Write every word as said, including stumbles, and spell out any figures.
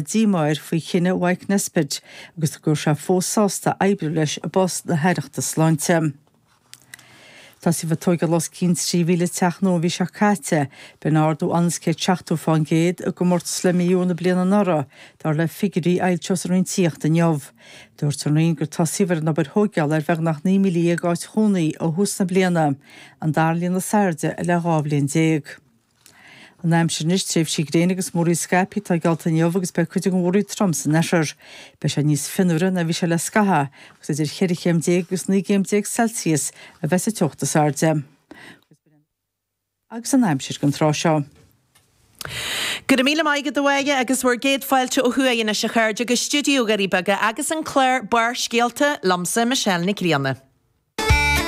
Díomá air faoi chinneadh Mike Nesbitt agus go raibh sé fós sásta oibriú leis i bpost na hAireachta Sláinte. Tosaíodh ag tógáil os cionn trí mhíle teach nua an mhí seo caite, b'in ardú ionann is céad seachtó fán gcéad i gcomórtas le mí Iúil na bliana anuraidh, dar le figiúirí a foilsíodh sa Roinn Tithíochta inniu. Dúirt an Roinn gur tosaíodh ar an obair thógála ar bheagnach naoi míle dhéag áit chónaí ó thús na bliana, an dara líon is airde le dhá bhliain déag. An aimsir anois, tréimhsí gréine agus múraíl scaipthe atá geallta inniu agus beidh cuid den mhúraíl trom san oirthear. Beidh sé níos fionnuaire ná bhí sé le scaitheamh agus idir cheithre chéim déag agus naoi gcéim déag Celsius a bheas an teocht is airde. Agus an aimsir don tráth seo. Go raibh míle maith agat a Mháire agus bhur gcéad fáilte ó thuaidh anois a chairde go stiúideo Dhoirí Beaga agus an clár Barrscéalta liomsa Michelle Nic Grianna.